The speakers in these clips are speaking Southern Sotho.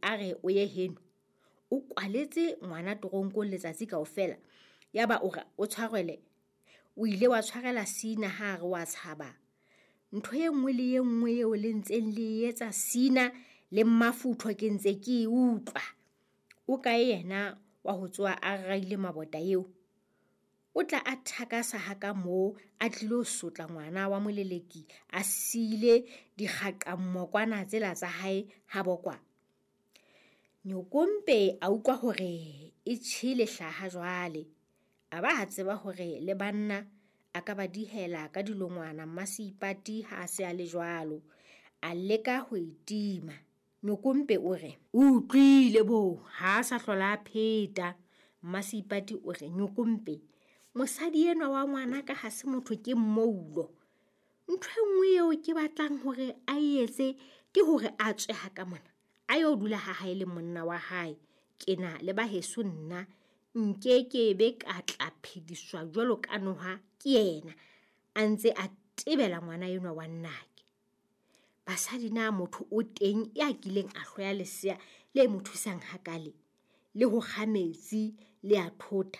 a re o ye heno. O kwaletse ngwana toronkong letsatsi kaofela, yaba o re o tshwarele. O ile wa tshwarela Sina ha a re wa tshaba. Ntho e nngwe le e nngwe eo le ntseng le e etsa Sina le Mmafutho ke ntse ke e utlwa. O kae yena wa ho tsoha a raile mabota eo? O tla a thakasa ha ka moo a tlilo sotla ngwana wa moleleki a siile dikgaqammokwana tsela tsa hae ha bokwa. Nyokompe a utlwa hore e tjhele hlaha jwale. A ba a tseba hore le banna a ka ba dihela ka dilongwana Mmaseipati ha a se a le jwalo. A leka ho e tima. Nyokompe o re, o utlwile bo, ha a sa hlola a pheta. Mmaseipati o re, Nyokompe, mosadi enwa wa ngwana ka ha se motho ke mmoulo. Ntho e nngwe eo ke batlang hore a e etse ke hore a tswe ha ka mona. A yo dula ha hae le monna wa hae. Ke na le ba heso nna nkekebe ka tla phediswa jwalo ka noha ke yena a ntse a tebela ngwana enwa wa nnake. Basadi na motho o teng ya kileng a hloya lesea le mo thusang hakale, le ho kga metsi le a thota.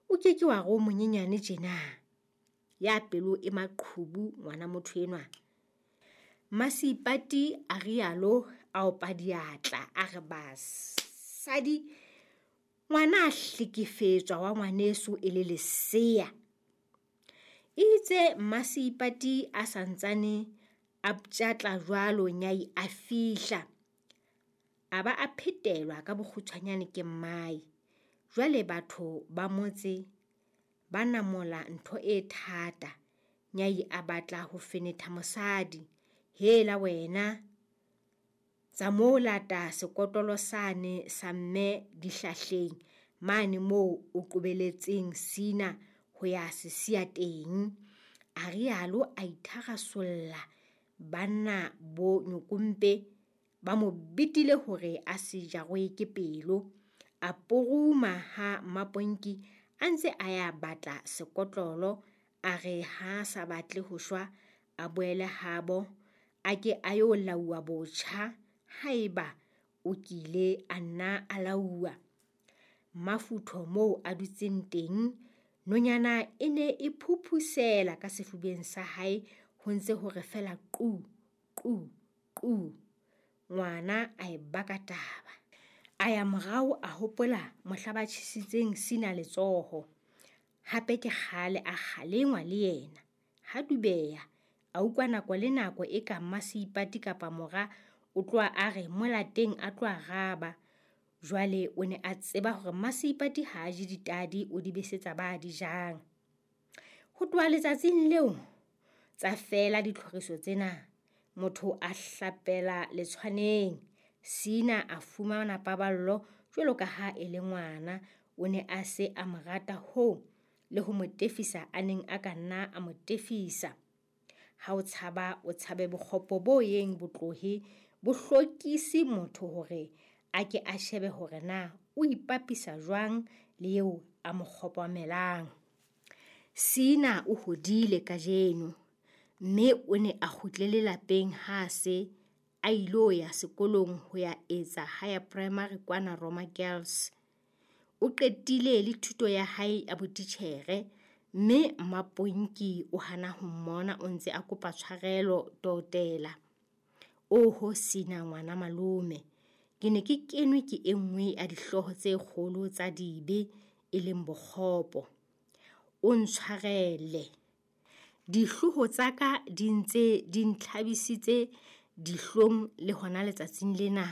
O ke ke wa re o monyenyane tjena. Ya pelo e maqhubu ngwana motho enwa. Mmaseipati a rialo a opa diatla a re basadi ngwana a hlekefetswa wa ngwaneso e le lesea. Itse Mmaseipati a santsane a ptjatla jwalo Nyai a fihla. A ba a phetelwa ka bokgutshwanyane ke mmae. Jwale batho ba motse ba namola ntho e thata. Nyai a batla ho fenetha mosadi. Hela wena, tsa moo lata sekotlolo sane sa mme dihlahleng mane moo o qobeletseng Sina ho ya se siya teng. A rialo a itharasolla. Banna bo Nyokompe ba mo betile hore a se jarwe ke pelo. A poruma ha Mmaponki a ntse a ya batla sekotlolo, a re ha sa batle ho shwa a boele habo, a ke a yo lauwa botjha haeba o kile a nna a lauwa. Mmafutho moo a dutseng teng, nonyana e ne e phuphusela ka sefubeng sa hae ho ntse hore fela qu, qu, qu. Ngwana a e baka taba. A ya morao a hopola mohla ba tjhesitseng Sina letsoho. Hape ke kgale a kgalengwa le yena. Ha dubeha, a utlwa nako le nako e ka Mmaseipati kapa mora o tloha a re molateng a tlo araba. Jwale o ne a tseba hore Mmaseipati ha a je ditadi o di besetsa ba di jang. Ho tloha letsatsing leo tsa fela ditlhoriso tsena. Motho a hlapela letshwaneng. Sina a fumana paballo jwalo ka ha e le ngwana. O ne a se a mo rata hoo le ho mo tefisa a neng a ka nna a mo tefisa. Ha o tshaba o tshabe bokgopo bo yeng botlohe bo hlokise motho hore a ke a shebe hore na o ipapisa jwang le eo a mo kgopamelang. Sina o hodile kajeno mme o ne a kgutlele lapeng ha se a ilo ya sekolong ho ya etsa higher primary kwana Roma Girls. O qetile le thuto ya hae ya botitjhere mme Mmaponki o hana ho mmona o ntse a kopa tshwarelo totela. Oho Sina ngwana malome, ke ne ke kenwe ke e nngwe ya dihlooho tse kgolo tsa dibe e leng bokgopo. O ntshwarele. Dihlooho tsa ka di ntse di ntlhabisitse dihlong le hona letsatsing lena.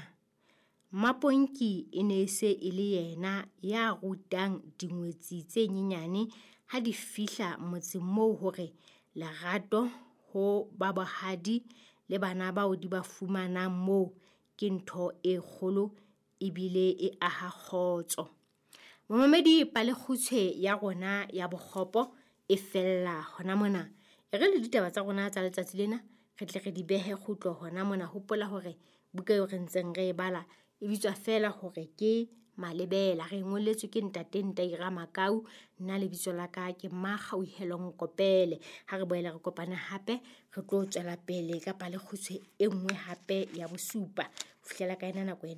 Mmaponki e ne se e le yena ya rutang dingwetsi tse nyenyane ha di fihla motseng moo hore lerato ho ba bohadi le bana bao di ba fumanang moo ke ntho e kgolo ebile e aha kgotso. Momamedi, palekgutshwe ya rona ya bokgopo e fella hona mona. E re le ditaba tsa rona tsa letsatsi lena re tle re di behe kgutlo hona mona. Hopola hore buka eo re ntseng re e bala e bitswa fela hore ke Malebela. Re ngolletswe ke ntate Ntaira Makau. Nna lebitso la ka ke Mmakgauhelo Nkopele. Ha re boela re kopane hape re tlo tswela pele ka palekgutshwe e nngwe hape ya bosupa. Ho fihlela ka ena nako ena.